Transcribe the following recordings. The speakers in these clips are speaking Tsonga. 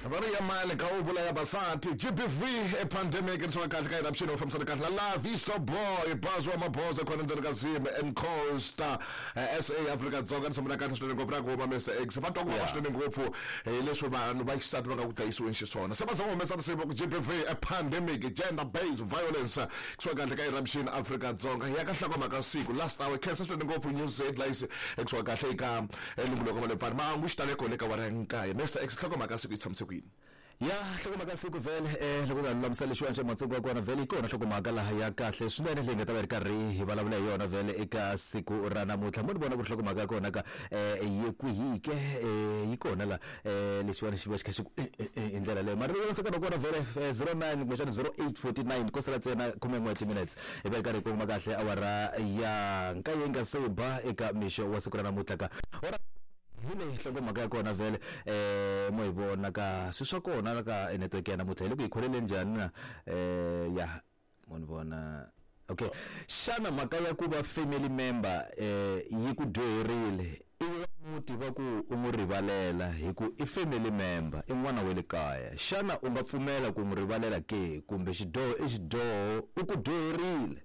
Va ri ya mali ka u vula ya basati GBV e pandemic ri swa kahle ka eruption u fambisana kahle la Visto Boy Bazi wa Maboza khona ndzeni ka Zim and Costa SA Afrika Dzonga ni sambana kahle swinene ngopfu ra ku huma Mr X va twa ku vava swinene ngopfu hi leswi vanhu va xisati va nga ku dlayisiweni xiswona se va za va humesa risimu ku GBV a pandemic gender based violence kusuka kahle ka eruption Afrika Dzonga ya ka nhlokomhaka siku last hour khensa swinene ngopfu news headlines kusuka kahle eka elunguloko wa le pfani mahangu xitaleko le ka wara ya nkaye Mr X nhlokomhaka siku yi tshamise ku yini? Ya nhlokomhaka siku vhele loko nga lulamisa lexiwani xa matsongo wa kona vhele yi kona nhlokomhaka laha ya kahle swinene leyi nga ta va yi ri karhi hi vulavula hi yona vhele eka siku ra namuntlha. Mo ni vona ku ri nhlokomhaka ya kona ka yi kwihi ke yi kona la lexiwani xi va xi kha xi ku hi ndlela leyo mara loko nsekana kona vhele 09 kumbexana 08:49 ko sala ntsena khumen'we wa timinetse hi va hi karhi hi kongoma kahle awara ya nkaye yi nga se ba eka mixo wa siku ra namuntlha ka hi leyi nhlokomhaka ya kona vhele mo hi vona ka swi swa kona la ka network ya namuntlha hi le ku hi kholeleni njhani na ya mo ni vona okay xana mhaka ya ku va family member yi ku dyoherile ivi va muti va ku u n'wi rivalela hi ku i family member i n'wana wa le kaya xana u nga pfumela ku n'wi rivalela ke kumbe xidyoho i xidyoho u ku dyoherile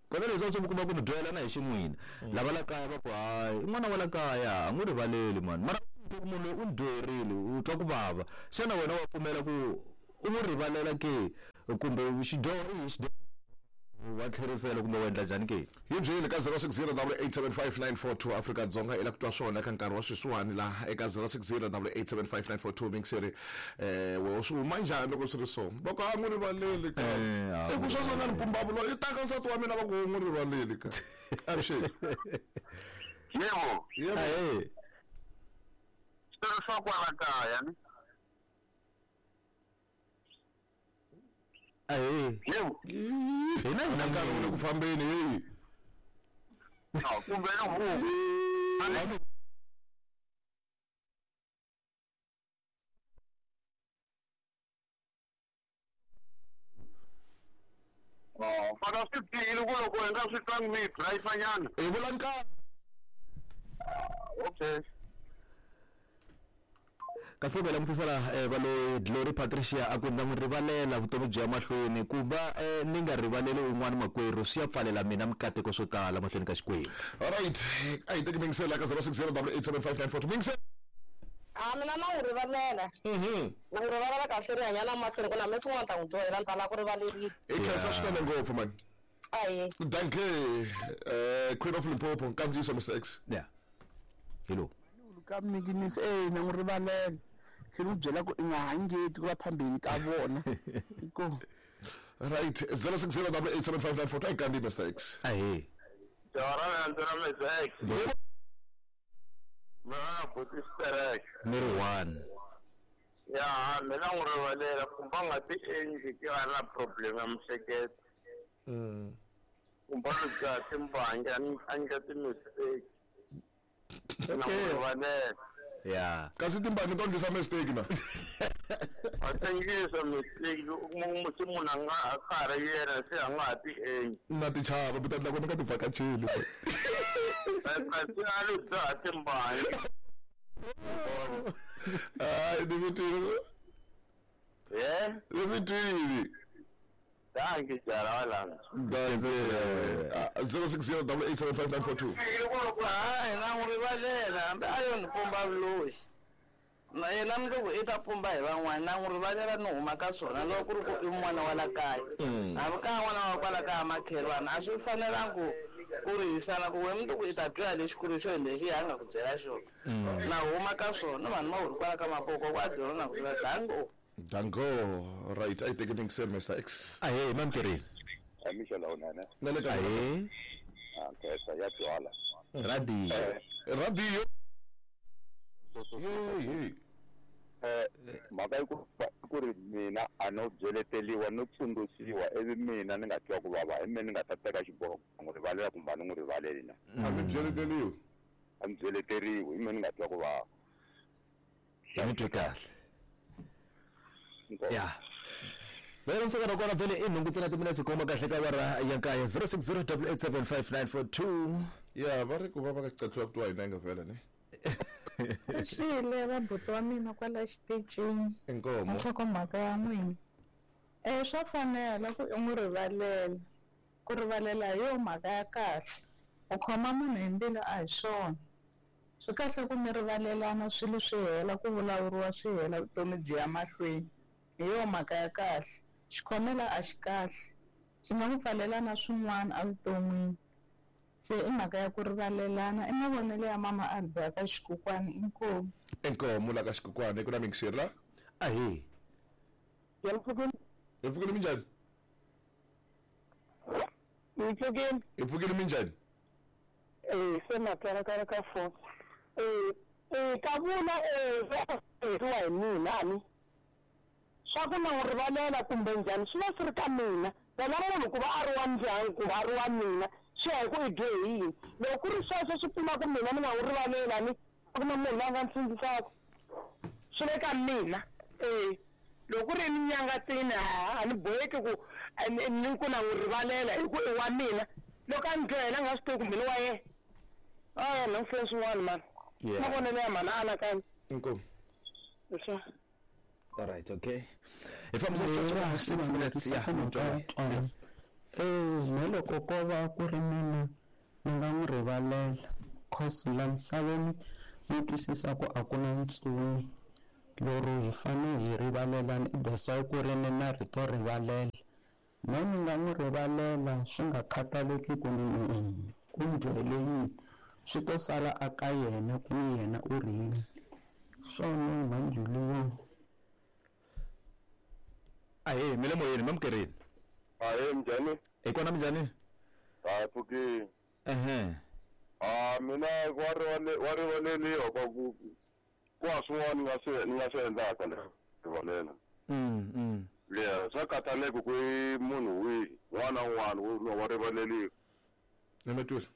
kona leswi a swi mi kuma ku mi dyohelana hi xin'wina lava la kaya va ku hayi i n'wana wa la kaya a n'wi rivaleli mani mara ku munhu loyi u ni dyoherile u twa ku vava xana wena wa pfumela ku u n'wi rivalela ke kumbe xidyoho i xidyoho wa tlherisela kumbe wa endla njhani ke? Hi byeli ka 0608875942 Afrika-Dzonga i la ku twa swona eka nkarhi wa sweswiwani laha eka 0608875942 mingiseri wehe swi huma njhani loko swi ri so va ku a n'wi rivaleli ka i ku sweswo nga ni pumbavulo i taka nsati wa mina va ku n'wi rivaleli ka avuxeni. Yebo. Yebo. Ahee. Swilo swa kwala kaya ni. Ahee. Yebo. Hina hi na nkarhi wu le ku fambeni heyi. Kumbe ni huku. Fana swi bihile ku loko hi nga swi twangi mi hi dlayisanyana. Hi vula nkarhi. Okay. Kasi loko hi langutisa laha va lo Glory Patricia a ku ndza n'wi rivalela vutomi byi ya mahlweni ku va ni nga rivaleli un'wana makwerhu swi ya pfalela mina mikateko swo tala mahlweni ka Xikwembu. Alright, a hi teki mingisela ka 0608875942 mingisela. A mina na n'wi rivalela. Na n'wi rivalela kahle ri hanya na mahlweni ku na me swin'wana ta n'wi dyohela ni ta lava ku rivaleriwa. I khensa swinene ngopfu mani. Ahee. Dankie Queen of Limpopo nkandziyiso Mr X. Yeah. Hello. Ka mikinisi eh na n'wi rivalela. Tlhela u byela ku i nga hangeti ku va phambeni ka vona. Inkomu. Right 0608875942 a hi kandi Mr X. Ahee. Jaha ra na Mr X. Mina na buti Sterek. Ni ri one. Ya mina n'wi rivalela kumbe a nga ti endli ki a ri na problem ya miehleketo. Kumbe a lo dzaha timbangi a endla ti-mistake. Na n'wi rivalela. Ya. Kasi timbangi to endlisa mistake na? A ti endlisa mistake u kuma ku se munhu a nga a ka ha ri yena se a nga ha ti endli. Na ti chava mi ta endla ku ni nga ti vhakacheli. Kasi a lo dzaha timbangi. Hayi ni mi twile. Ye? Ni mi twile. Dankie jaha wa lana. Dankie. 0608875942. Hayi na n'wi rivalela hambi a yo ni pumba vuloyi. Na yena mundzuku i ta pumba hi van'wana na n'wi rivalela ni huma ka swona loko ku ri ku i n'wana wa la kaya. Hambi ka n'wana wa kwala kaya makhelwani a swi fanelangi ku ku rihisana ku we mundzuku i ta twa lexikulu xo hi lexi a nga ku byela xona. Na huma ka swona vanhu ma huri kwala ka mapoko kwa dyona na ku vula dango. Dango right a yi teki mingiselo Mr X. Ahee mamkerini. Mixo lowunene. Na le ka Ahee. Nkhensa ya twala. Radio. Radio. Ye ye. Mhaka yi ku ri mina a no byeleteliwa no tsundzuxiwa ivi mina ni nga twa ku vava hi mina ni nga ta teka xiboho ku n'wi rivalela kumbe a ni n'wi rivaleli na. A mi byeleteriwi. A mi byeleteriwi hi mina ni nga twa ku vava. Hi mi twe kahle. Ya. Vele ntsika ra kona vele i nhungu ntsena timinetse koma kahle ka awara ya nkaye 0608875942. Ya va ri ku va va ka xicathiwa ku twa hina nga vhela ne. Xile vabuti wa mina kwala xitichini. Inkomo. Nhlokomhaka ya n'wina. Swa fanela ku i n'wi rivalela. Ku rivalela hi yo mhaka ya kahle. U khoma munhu hi mbilu a hi swona. Swi kahle ku mi rivalelana swilo swi hela ku vulavuriwa swi hela vutomi byi ya mahlweni. Hi yo mhaka ya kahle. Xikhomela a xi kahle. Xi nga ku pfalela na swin'wana evuton'wini. Se i mhaka ya ku rivalelana i mavonelo ya mama Albi ka xikukwani inkomu. Inkomu la ka xikukwani ku na mixer la. Ahe. Hi pfukile minjhani? Hi pfukile. Hi pfukile minjhani? Se makara ka ka phone. Ka vula wa hi mina ani. Swa ku na n'wi rivalela kumbe njhani swi va swi ri ka mina. Wena munhu ku va a ri wa ndyangu kumbe a ri wa mina swi ya hi ku i dyohe yini. Loko ku ri sweswo swi pfuna ku mina ni nga n'wi rivalela ni a ku na munhu loyi a nga ni sindzisaka. Swi le ka mina. Loko ku ri minyangatsini a ni boheki ku ni ku na n'wi rivalela hi ku i wa mina. Loko a ni dyohela a nga swi tivi kumbe ni wa yena. A na n'wi swin'wana mani. Mavonelo ya mhana anakanya. Inkomu. Leswi. All right, okay. If I'm 6 minutes, yeah. Me loko ko va ku ri mina ni nga n'wi rivalela cause la misaveni ni twisisa ku a ku na ntsumi lero hi fane hi rivalelana that's why ku ri ni na rito rivalela. Me ni nga n'wi rivalela swi nga khathaleki ku ku ndlwele yini swi to sala aka yena ku yena u ri yini swona mhanjuliwa. Ahe, mi le moyeni mamkerini. Ahe, minjhani? Hi kona minjhani? Ha pfukile. Ehe. Mina wa rivaleliwa kwa ku kwa swin'wana ni nga swi endlaka le rivalela. Yeah, swa khathaleki ku i munhu wihi n'wana na un'wana wa rivaleliwa. Ni mi twile?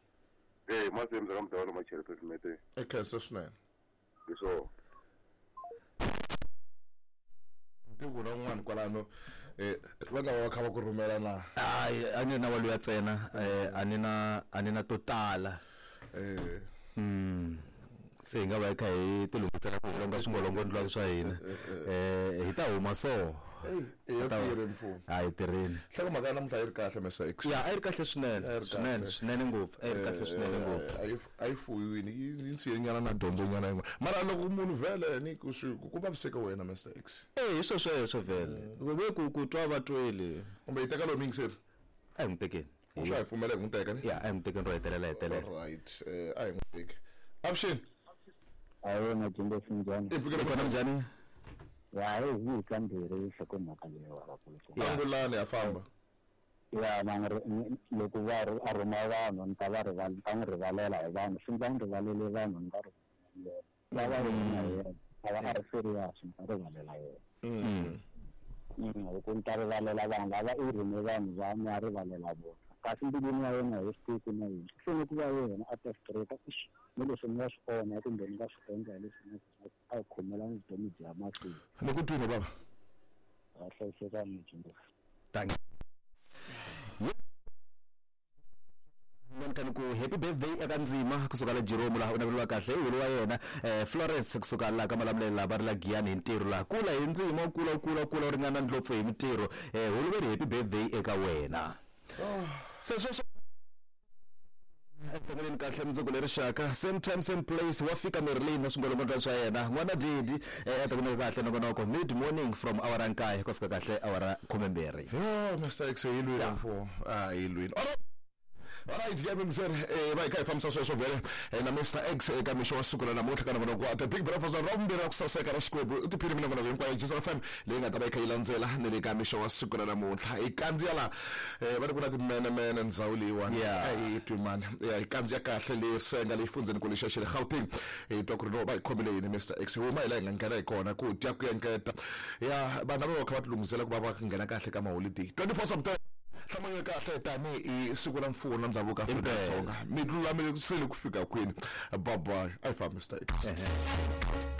Masemza ka mudawula macheri president. Okay, so swinene. Hi swona. Ku na un'wana kwalano va nga va kha va ku rhumela na. Hayi, a ni na waluya ntsena, a ni na to tala. Se hi nga va hi kha hi ti lunghisela ku longa swingolongondlwana swa hina. Hi ta huma so. Hi tirheni mfumo. A hi tirheni. Nhlokomhaka ya namuntlha yi ri kahle Mr X. Ya, a yi ri kahle swinene. Swinene, swinene ngopfu. A yi ri kahle swinene ngopfu. A yi fuyiwini, yi nsiye nyana na dyondzo nyana yin'wana. Mara loko munhu vhele ni ku swi ku vaviseka wena Mr X. Hi swo sweswo vhele. Ve ku twa va twele. Kumbe yi teka lowu miyingiseri? A hi n'wi tekeni. U swa hi pfumela hi n'wi teka ni? Ya, a hi n'wi tekeni ro hetelela hetelela. Right, a hi n'wi teki. Avuxeni. Ahe, Majimbo sinjhani? Hi pfukile kona minjhani? Ya, hi kambirhi nhlokomhaka leyi wa vakulukumba. Angulani ya famba. Ya, loko va a rhuma vanhu ni ta va ta n'wi rivalela hi vanhu swi ndza n'wi rivalele vanhu ni nga rivalela. Va yena yena a va a ri serious ni ta rivalela yena. Hi ku ni ta rivalela vanhu lava i rhume vanhu va ni ya rivalela vona. Kasi mbilwini ya yena hi swi tivi na yini. Swi fanele ku va yena a ta straight ni leswi ni nga swi onha kumbe ni nga swi endla hi leswi ni a khomelana vutomi bya mahlweni. Ni ku twini baba. A hlayisekani Majimbo. Thank you. Ku happy birthday eka ndzima kusuka la Jerome laha u naveliwa kahle hi wa yena Florence kusuka la ka Malamulele va ri la Giyani hi ntirho laha kula hi ndzima kula kula kula u ringana ndlopfu hi mintirho holuveri happy birthday eka wena. Se sweswo etongeleni kahle mundzuku leri xaka same time same place wa fika Merlin na swingolongondlwana swa yena n'wana Didi etongeleni kahle nongonoko mid morning from awara 9 ku fika kahle awara 12. Yo Mr X hi lwini mfo. Hi lwini. Alright, ke msir va hi kha hi fambisa sweswo vhele na Mr X eka mixo wa siku ra namuntlha ka nongonoko wa The Big Breakfast ra vumbirhi ra ku saseka ra Xikwembu u tiphini minongonoko hinkwayo Jizz FM leyi nga ta va yi kha yi landzela ni le ka mixo wa siku ra namuntlha hi kandziya la va ri ku na timenemene ndzhawu leyiwani a hi twi mani hi kandziya kahle le senga leyi fundzeni ku lexa xa le Gauteng hi twa ku ri no va hi khomile yini Mr X huma hi laha hi nga nghena hi kona ku dya ku engeta ya vanhu lava va kha va ti lunghisela ku va va nghena kahle ka maholideyi 24 September hlamunyo kahle tani hi siku ra mfuwo na ndhavuko Afrika-Dzonga mi lulamisekile ku fika kwini. Bye bye. A hi fambi Mr X.